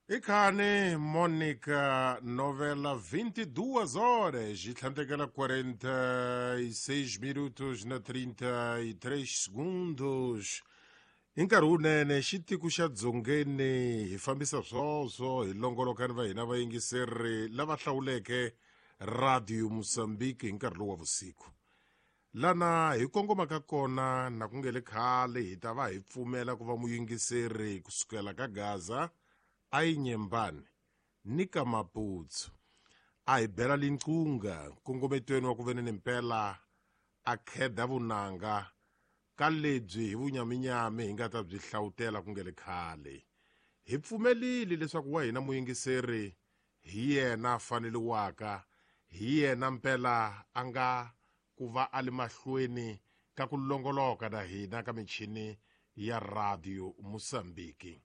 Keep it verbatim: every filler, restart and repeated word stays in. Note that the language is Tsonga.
Ikhani Monica novela vinte e duas horas e tlhandlekela quarenta e seis minutos na trinta e três segundos. Hi nkarhi wunene xitiko xa dzongeni hi fambisa swoswo hi longoloka ni va hina vayingiseri lava hlawuleke Radio Mozambique hi nkarhi lowu wa vusiku. Lana hi kongomaka kona na ku nge le khale hi ta va hi pfumela ku va muyingiseri kusukela ka Gaza a yi Nyembani ni ka Maputsu a hi bela linqunga nkongometweni wa ku veni ni mpela a kheda vunanga ka lebyi hi vunyaminyami hi nga ta byi hlawutela ku nge le khale. Hi pfumelile leswaku wa hina muyingiseri hi yena a faneliwaka, hi yena mpela a nga ku va a li mahlweni ka ku longoloka na hina ka michini ya Radio Mosambiki.